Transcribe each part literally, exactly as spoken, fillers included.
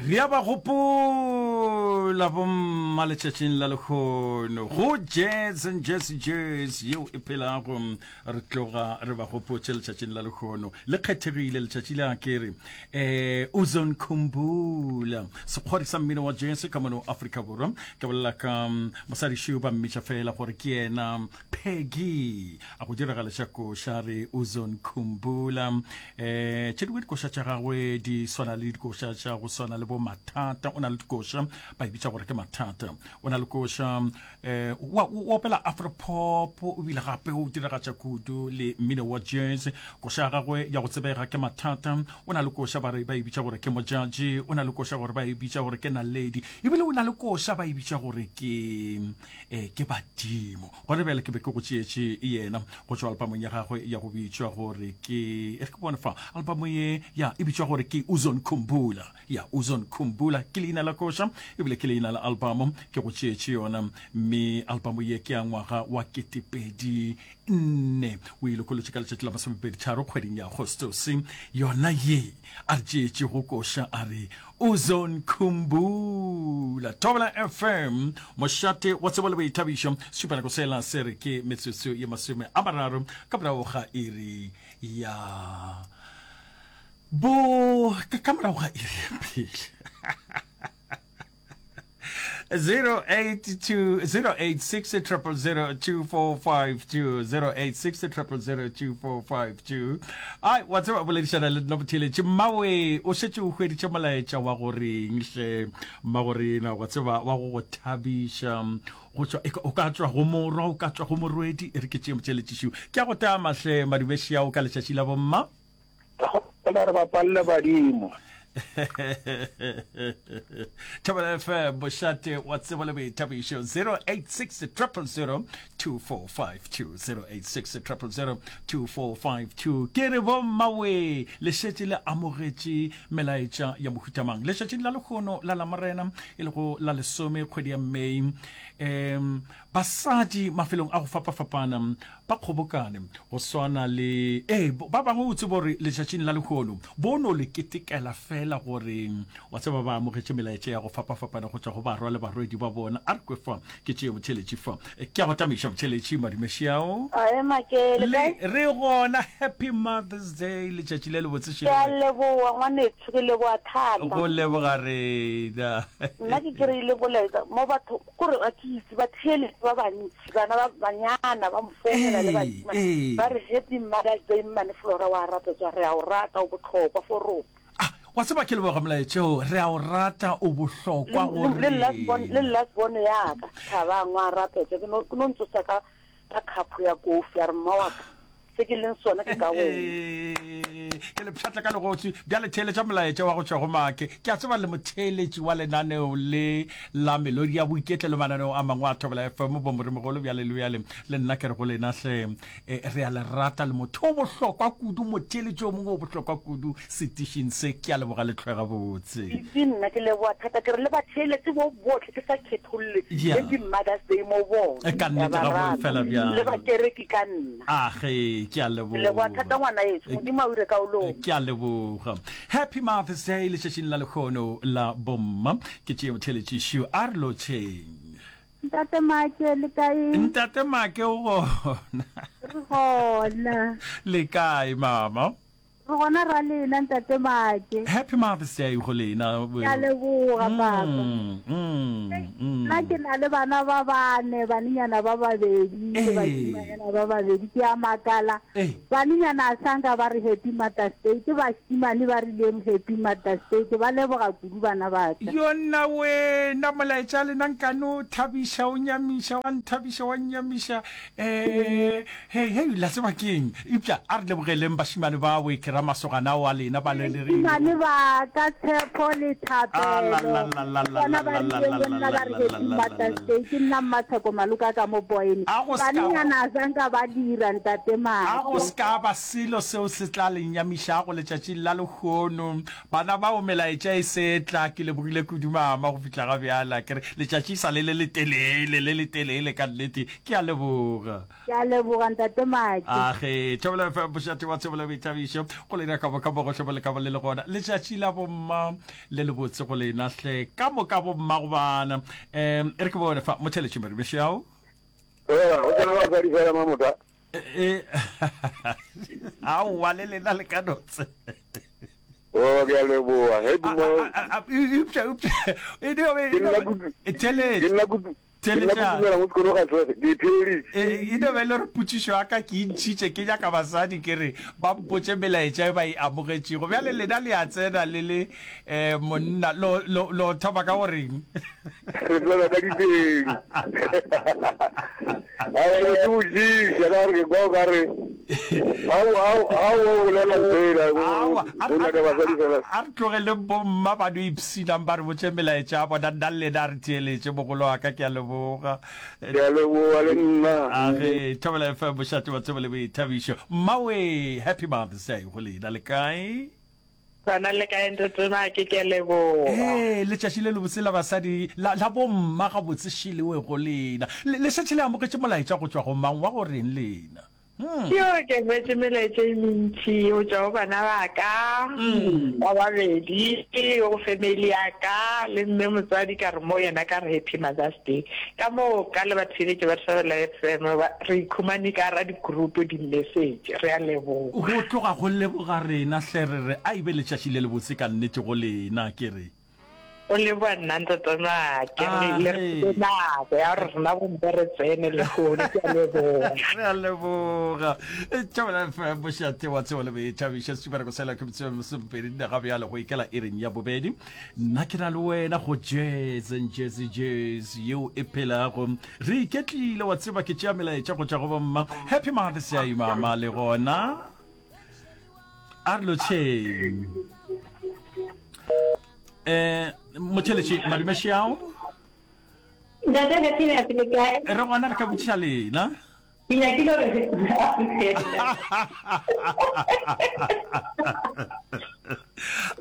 Re a ba gopola bomma letšatšing la lehono go Jazz and Jazz Jazz yeo e phelago. Re tloga re ba gopotše letšatšing la lehono, le kgethegile letšatši le a kere eh Ozone Khumbula, sekgwari sa mmino wa jazz ka mono Afrika Borwa. Ke bolela ka mosadi šeo ba mmitša fela gore ke yena Peggy, a go diragaleša koša re Ozone Khumbula. Eh tše dingwe dikoša tša gagwe di swana le dikoša tša go swana le bo Mathata. O na le dikoša ba e bitša gore ke Mathata. O na le koša eh wa o opela afropop, o bile gape o diragatša kudu le mmino wa jazz. Koša ya gagwe ya go tsebega ke Mathata. O na le koša ba re ba e bitša gore ke Mojaji. O na le koša gore ba e bitša gore ke Naledi. Ebile o na le koša ba e bitša gore ke eh ke Badimo. Gona bjale ke be ke go tšeetše yena go tšwa alpamong ya gagwe ya go bitšwa gore ke, e re ke bone fa albamo ye ya e bitšwa gore ke Ozone Khumbula. Ya Ozone Khumbula ke leina la koša ebile ke leina la albamo, ke go tšeetše yona. Mme albamo ye ke ya ngwaga wa ketepedi nne, o e lokolotše ka letšatši la masomepedi tharo kgweding ya Agostose. Yona ye a re tšeetše go koša a re Ozone Khumbula. Thobela F M, mošate wa tsebo le boithabišo. Šupanako sela se re ke metsotso ye masome a mararo ka morago ga iri ya bo ka morago ga iri ya pele. zero eight two zero eight six triple zero two four five two zero eight six triple zero two four five two. Ai, wa tseba boledišana le nna motheeletši mmawe, o šetše o hweditše molaetša wa goreng hle mmagorena, wa tseba wa go go thabiša go tšwa, e ka, o ka tšwa go morwa, o ka tšwa go morwedi. E re ke tšee motheeletšišo, ke a go tama hle madumešeao ka letšatši la bomma. Gopola re bapalle badimo. Thobela F M, mošate wa tsebo le boithabišo. Zero eight six triple zero two four five two, zero eight six triple zero two four five two. Ke re bommawe, le šetše le amogetše melaetša ya mohutamang letšatšing la lehono la Lamorena, e lego la lesome kgwedi ya Mei. Um basadi mafelong a go fapafapana ba kgobokane go swana le ee ba bangwe, o tsebe gore letšatšing la lehono bo no le ketekela fela gore wa tseba ba amogetše melaetša ya go fapafapana go tšwa go barwa le barwedi ba bona. A re kwe fa ke tšee motheeletši fa, ke a go tamiša motheeletši madumešiao. Ae Make, le kae? Le re gona. Happy Mother's Day, letšatši le lebotse. Ke a leboga ngwanešu, ke leboga thata. Go leboga rena. Nna ke kry-ile molaetša mo batho, kore ga ke itse batheeletši ba bantši, bana ba banyana ba mfounela le bašemane ba re happy Mother's Day mmane Flora wa rata tswa, re a o rata o bohlokwa for rona. Ah, wa tseba ke leboga molaetšeo, re a o rata o bohlokwa go Le last born, le rena. last born ya ka Thabang wa rata tswa, ke no ke no ntsosa ka ka khapo ya kofi a re mma wa ka se ke leng sona ke ka wena. Ke le pšhatla ka legotsi bjale. Theeletša molaetša wa go tšwa go Make. Ke a tseba le motheeletši wa lenaneo le la Melodi ya Boiketlo le mananeo a mangwe a Thobela F M, bomoremogolo bjale le bjale. Le nna ke re go lena hle, e, re a le rata, le motho o bohlokwa kudu, motheeletši o mongwe o bohlokwa kudu setišing se. Ke a leboga le hlwe gabotse. Itse nna ke leboga thata, ke re le batheeletši bo bohle ke sa khetholle, Yeah. Happy Mother's Day mo bona. Ka Ke a nnete ba ga boe rata. fela Le bjalo. bakereki ka nna. A ge, ke a Ke leboga thata leboga. ngwanaetsho, Modimo a o ire ka o loma. Ke a leboga. Happy Mother's Day letšatšing la lehono la bomma. Ke tšee motheeletšišo a re lotšheng. Ntate Make, le kae? Ntate Make o gona. Re gona. Le kae mama? Re gona ra lena Ntate Make. Happy Mother's Day go lena. Ke a leboga papa. Mm, mm, mm. Nna ke na le bana ba bane, banenyana ba babedi le Ee. bašimanyana ba babedi. Ke a makala. Ee. Banenyana a sanka ba re Happy Mother's Day, ke bašimane ba rileng Happy Mother's Day. Ke ba leboga kudu bana ba ka. Yonna wena, molaetša lena nkane o thabiša, o nyamiša, wa nthabiša, wa nnyamiša. Eh, hei, hei, la tseba keng? Eupša a re lebogeleng bašemane bao, ke ra masogana ao a lena ba le le Bašemane ba ka, Tshepo le Thapelo, ke bona ba rileng le nna ba re Happy Mother's Day. Ke nna Mmatsheko Maloka ka mo Boyne. A go se ka, Banenyana a sanka ba dira, Ntate a go Make. se ka ba selo seo se tla le nyamišago letšatšing la lehono. Bana bao melaetša e se tla. Ke lebogile kudu mama go fihla ga bjale. Ke re letšatši e sa le le letelele, le letelele ka nnete. Ke a leboga. Ke a leboga Ntate Make. Age, Thobela F M, mošate wa tsebo le boithabišo. Go lena ka moka mo gohle mo le ka ba le le gona. Letšatši la bomma le lebotse go lena hle. Ka moka bomma go bana. Um e re ke bone fa motheletši Maribišao. Ee, go tsena basadi fela mamota. E, aowa le lena le ka no tsena. Oh, ke a leboga. Happy mo. Eupša, eupša, e dio be, Ke nna kudu. theletša. Ke nna kudu. Ke nna Theletša. kudu mo sekolo ga tswege. Ke theleditše. E, e no be e le gore potšišo ya ka ke e ntšhitše ke nyaka basadi ke re ba mpotše melaetša e ba e amogetšego. Bjale lena le a tsena le le um monna, lo, lo, lo thoma ka go reng? Re tsena ka diteng. Aowa, ke ke botšiša ka gore ke kwa o ka re ga o, ga o, ga o bolela fela, o, Aowa, a o re, a nyaka re, basadi fela. a re tlogeleng bomma ba no ipshinang ba re botše melaetša ya bona, nna le lena a re theeletše. Mogolo wa ka, ke a leboga. Ke a leboga le nna. A ge, Thobela F M, mošate wa tsebo le boithabišo. Mmawe, happy Mother's Day go lena, le kae? Gona le kae Ntate Make, ke a leboga. Ee, letšatši le lebotse la basadi, la, la bomma gabotse šelewe go lena. Le, le šetše le amogetše molaetša go tšwa go mang wa go reng lena? Hmm. Yo, ke hwetše melaetša e mentši go tšwa go bana ba ka ba babedi, go family ya ka le mme motswadi ka re mo yena ka re happy Mother's Day. Ka moo ka le batheeletši ba Thobela F M ba re ikhumane ka gara di-group di-message. Re a leboga. Go tloga go leboga rena hle re re a e be letšatši le lebotse ka nnete go lena ke re. O leboga nna Ntate Make, Ah, le re ge. file nako ya gore rena bomme re tsene lehono, ke a leboga. Re a leboga. Thobela F M, mošate wa tsebo le boithabišo, setubereko sela ke metsotso e masomepedi nne ga bjale go ikela iring ya bobedi. Nna ke na le wena go Jazz and Jazzy Jazz yeo e phelago. Re iketlile wa tseba ke tšea melaetša go tšwa go bomma. Happy Mother's Day mama le gona. A re lotšheng. Eh, motheletši madume šiao. Ntate Happy Nurse le kae? Re gona re ka botšiša lena. Ke nyakile gore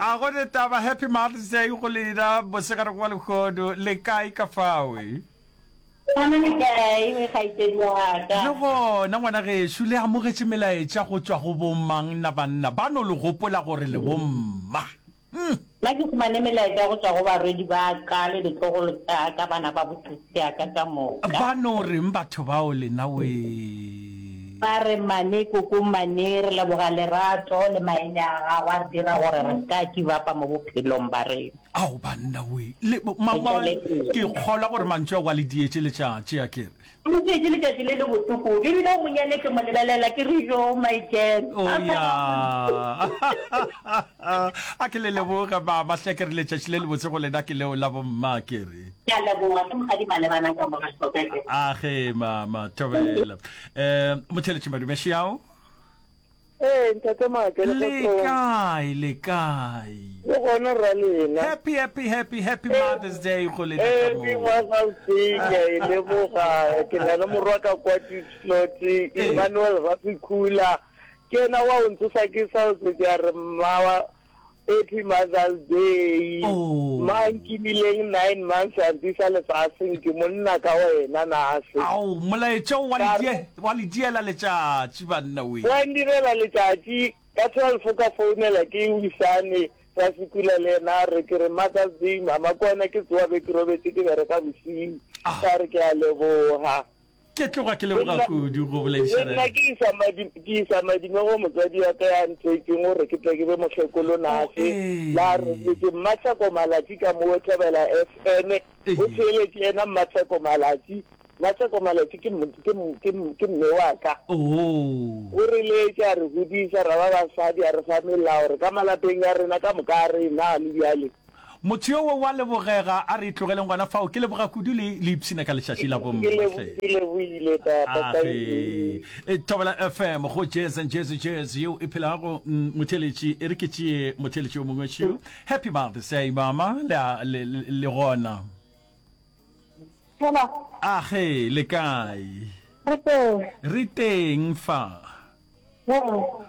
A go ne taba Happy Mother's Day go lena mosegareng wa lehono le kae ka fawe? Gona le kae we kgaetšedi wa ka? Le gona ngwana gešo le amogetše melaetša go tšwa go bomang na banna ba no le gopola gore le bomma? Nna ke humane melaetša go tšwa go barwedi ba ka le ditlogolo tša ka, bana ba bosesi ya ka ka moka. Ba no reng batho bao lena wee? Ba re, Mane, koko Mane, re leboga lerato le maele a gago a re dira gore re se ka give up-a mo bophelong ba rena. Ao banna wee! Le, ma, ma, ke kgolwa gore mantšu ao a le dietše letšatši, a ke re. Ke tšetše letšatši le le botse kudu, ebile o monyane ke mo lebelela ke re, Joo, my girl. Oh, ya. A ke le leboge, mama, hle ke re letšatši le lebotse go lena ke leo la bomma, ke re. Ke a leboga, ke mokgadi Malebana ka mo ga Hlokeke. A ge, mama, thobela. Um, Motheletši Madume Šiao. Ee, Ntate Make, Le le kgotsong. kae, le kae? Le gona rra lena. Happy, happy, happy, happy Mother's Day go lena ka Happy moka. Mother's Day, ke a e leboga. Ke na le morwa ka kwa Diepsloot, Emmanuel Rasekhula. Ke yena wa o ntsosa ke sa o tsetse a re mma Happy Mother's Day. Oh. Ma nkimileng nine months a ntisa lefaseng ke monna ka wena nase. Ao, molaetša o wa Ka le re- die, wa le diela letšatši banna we. Wa ndirela letšatši ka twelve ka founela ke Wisane Rasekula le yena a re ke re Mother's Day mama ke wena ke tsoa be ke robetše ke bereka bosiu Ah. ka re ke a leboga. Ke tloga ke leboga Le nna- kudu go le boledišana nna ke isa madi ke isa madime go motswadi wa ka ya nthwetseng gore ke tle ke be mokgekolo nase Oh, ee. la robetse Mmatsheko Malatsi ka mo Thobela F M Ee. o theeletše yena Mmatsheko Malatsi Mmatsheko Malatsi ke m- ke m- ke m- ke mme wa ka Oh. o re letše a re godisa ra ba basadi a re fa melao re ka malapeng a rena ka moka a rena le bjale Motho yo wa lebogega, a re tlogeleng gona fao. Ke leboga kudu le le ipshina ka lešaši la bomma Ke lebo- hle. ke lebohile tata, thank you. Age. Thobela F M go Jazz and Jazzy Jazz yeo e phelago mm, motheletši e re ke tšee motheletši o mongwe šiu. Happy Mother's Day mama le a- le le le gona. Hello. Age le kae? Re teng. Re teng fa.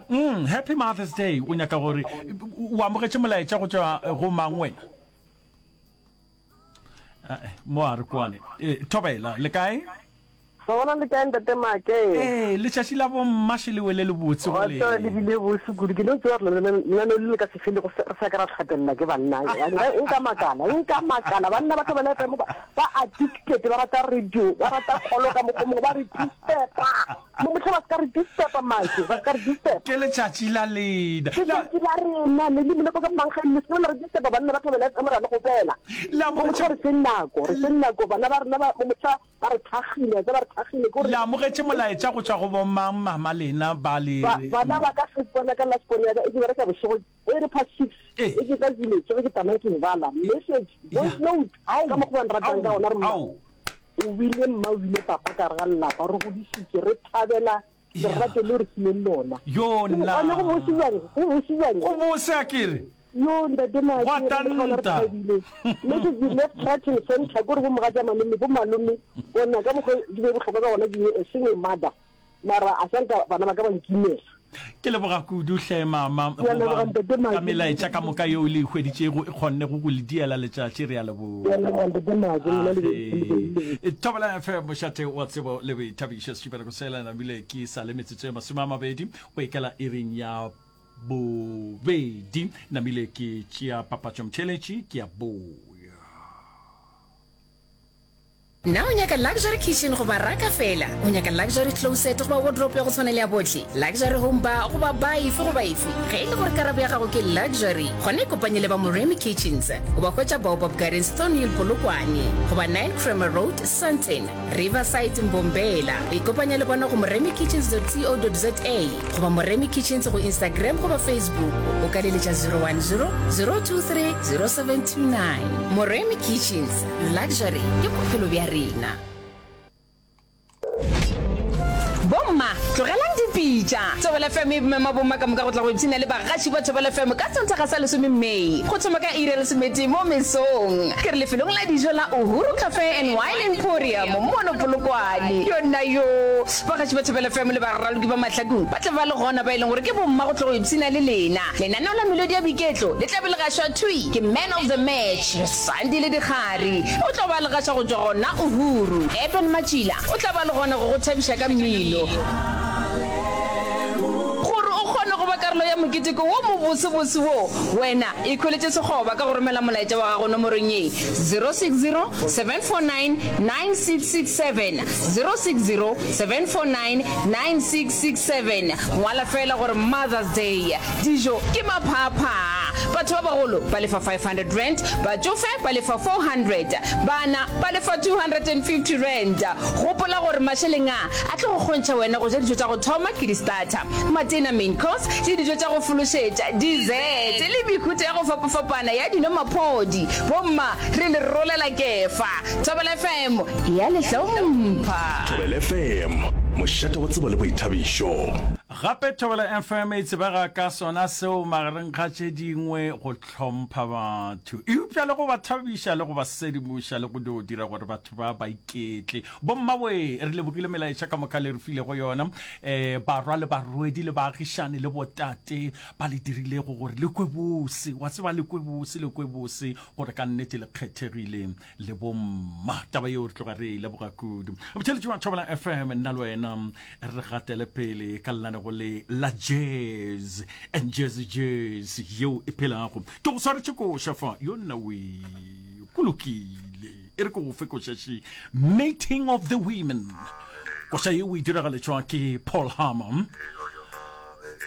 Mm, happy Mother's Day. O nyaka gore o amogetše molaetša go tšwa go mang wena? Mo a re kwane. Eh, Thobela, le kae? Re gona le kae Ntate Make? Ee, letšatši la bomma še le wele le botse go Wa tseba le lena. bile bose kudu. Ke no tseba gore lenaneo le le ka se fele go se re sa ka ra hlapella ke banna. Nka makala, nka makala. Banna ba Thobela F M ba ba addicted, ba rata radio, ba rata kgolo ka mokgwa o mongwe, ba re disturba. Mo mohla ba se ka re disturba Make, ba se ka re disturba. Ke letšatši la lena. Letšatši la rena le le moleko ka mankgeng le se ke la re disturba banna ba Thobela F M ra le gopela. Le Mo amogetše mohla re feng nako, re feng nako bana ba rena ba mo mohla Ba re thakgile, tse ba re thakgile, ke gore. Le amogetše molaetša go tšwa go bomang mama lena ba le Ba, re. bana ba ka first born ya ka, last born ya ka, e ke bereka bošego, e re past six, Ee. e ke tla ke tsoge ke tsamaya ke e bala, message, voice Ya. note, Ao, ka mokgwa ba nratang ka ao, gona, re mma, ao. o bile mma, o bile papa ka gare ga lelapa, re godišitše, re thabela Ya. lerato leo re fileng lona. Yo Go, nna. gona go bose bjang, go bose bjang. Go bose akere. Yoo ntate Gwa Maake, re le gona re tanta. thabile. Message left, right and centre, kore bo mogatša malome, bo malome, bona ka mokgwa ke be bohlokwa ka gona ke be a single mother, mara a sa nka bana ba ka ba nkimela. Ke leboga kudu hle mama Ke a go leboga ba ntate ka Maake. melaetša ka moka yeo le e hweditšego e kgonnego go le diela letšatši. Re a Ke a leboga. leboga ntate Maake, lena le be le be le be. Age. Thobela F M, mošate wa tsebo le boithabišo. Setšhupeleko sela namile ke sa le metsotso e masome a mabedi go ikela iring ya bobedi. Namile ke tšea papatšo mtheeletši ke a boya. Na o nyaka luxury kitchen goba raka feela? O nyaka luxury closet goba wardrobe ya go tshwana le ya bohle? Luxury home bar goba bar efe goba efe? Ge e le gore karabo ya gago ke luxury, gona ikopanye le ba Moremi Kitchens. O ba hwetša Baobab Gardens, Thornhill, Polokwane goba nine Kramer Road, Sandton, Riverside, Mbombela. Ikopanya le bona go moremikitchens dot co dot za goba Moremi Kitchens go Instagram goba Facebook. O ka leletša zero one zero, zero two three, zero seven two nine. Moremi Kitchens, luxury ke bophelo bja rena. Bomma, tlogelang dipitša. Thobela F M e mema bomma ka moka go tla go ipshina le bagaši ba Thobela F M ka Sontaga sa lesome May go thoma ka iri ya lesometee mo mesong. Ke re lefelong la dijo la Uhuru Cafe and Wine Emporium mono Polokwane. Yo nna yo! Bagaši ba Thobela F M le baraloki ba mahlakong ba tla ba le gona ba e leng gore ke bomma go tlo go ipshina le lena. Lenaneo la Melodi ya Boiketlo le tla be le gašwa thwi ke Man of the Match, Sandile Dikgari. O tlo ba le gaša go tšwa gona Uhuru. Eben Matšila o tla ba le gona go go thabiša ka mmino. Gore o kgone go ba karolo ya moketeko wo mobosebose wo, wena ikhweletše sekgoba ka go romela molaetša wa gago nomorong ye, zero six zero, seven four nine, nine six six seven, zero six zero, seven four nine, nine six six seven. Ngwala feela gore Mother's Day. Dijo ke maphaaphaa. Batho ba bagolo ba lefa five hundred rand, batšofe ba lefa four hundred, bana ba lefa two hundred and fifty rand. Gopola gore mašeleng a a tlo go kgontšha wena go ja dijo tša go thoma ke di-starter, matena, main course, le dijo tša go fološetša, dessert, le mehuta ya go fapafapana ya dino maphodi. Bomma, re le rolela kefa. Thobela F M e a le hlompha. Thobela F M, mošate wa tsebo le boithabišo. Gape Thobela F M e tsebega ka sona seo magareng ga tše dingwe go hlompha batho, eupša le go ba thabiša le go ba sedimoša le go dio dira gore batho ba ba iketle. Bommawe, re lebogile melaetša ka moka le re filego yona, um barwa le barwedi le baagišani le botate ba le dirilego gore le kwe bose, wa tseba le kwe bose, le kwe bose gore ka nnete le kgethegile le bomma. Taba yeo re tloga re e leboga kudu. Botheletši wa Thobela F M, nna le wena re gatele pele ka lenanego le la Jazz and Jazzy Jazz yeo e phelago. Ke go swaretše koša fa, yo nna we, go lokile. E re ke go fe koša še, Meeting of the Women. Koša yeo e diragaletšwa ke Paul Hammer.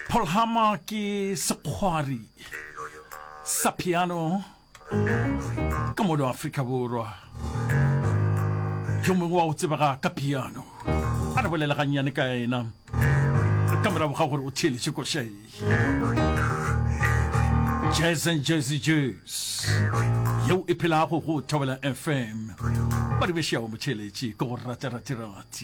Paul Hammer ke sekgwari sa piano ka mono Afrika Borwa. Yo mongwe wa go tsebega ka piano. A re bolele gannyane ka yena ka morago ga gore o theeletše koša ye. Jazz and Jazzy Jazz yeo e phelago go Thobela F M. Ba di bešago motheeletši ke go rata rati rati.